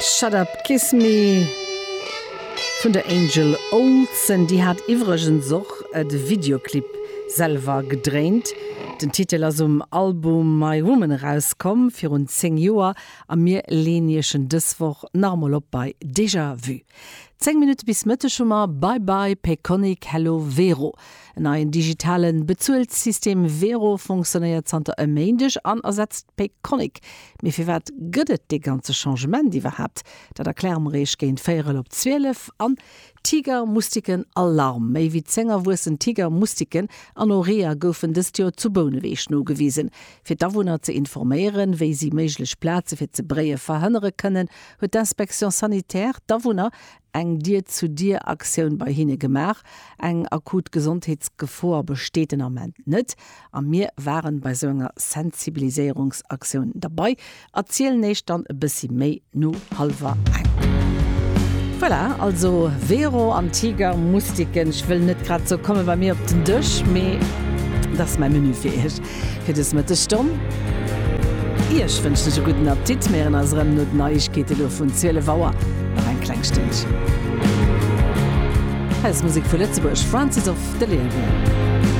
Shut Up Kiss Me vun der Angel Olsen. Déi hat iwwregens och de Videoclip selwer gedréint. Den Titel ass um Album My Woman erauskomm virun 10 Joer a mir leen iech en dës Woch nach emol op bei Déjà Vu. 10 Minutte bis Mëtteg hu mer Bye Bye Payconiq, Hello Wero. En neien digitale Bezuelsystem Wero funktionéiert zanter e Méindeg an ersetzt Payconiq. Mee firwat gëtt et dee ganze Changement iwwerhaapt? Dat erkläre mer iech géint véierel op 12. An Tiger-Mustiken Alarm! Méi wéi 10 erwuessen Tiger-Mustiken an och Reeër goufen dëst Joer zu Bouneweg nogewisen. Fir d'Awunner ze informéieren, wéi si méiglech Plaze fir ze bréie verhënnere kënnen, huet d'Inspection sanitaire d'Awunner eng Dier-zu-Dier-Aktioun bei hinne gemaach. Eng akut Gesondheetsgefor besteet den Ament net a mir waren bei sou enger Sensibiliséierungsaktioun derbei. Erzielen eech dann e bëssi méi no hallwer eng. Voilà, also Vero an Tiger, Mustiken, ech wëll net grad sou komme bei mir op den Dësch, mee dat ass mäi Menü fir iech fir dës Mëttesstonn. Iech wënschen ech e gudden Appetit. Mir héieren eis erëm no den Neiegkeete lo vun 12 Auer nach eng kleng Stënnchen. Hei ass Musek vu Lëtzebuerg, Francis of Delirium.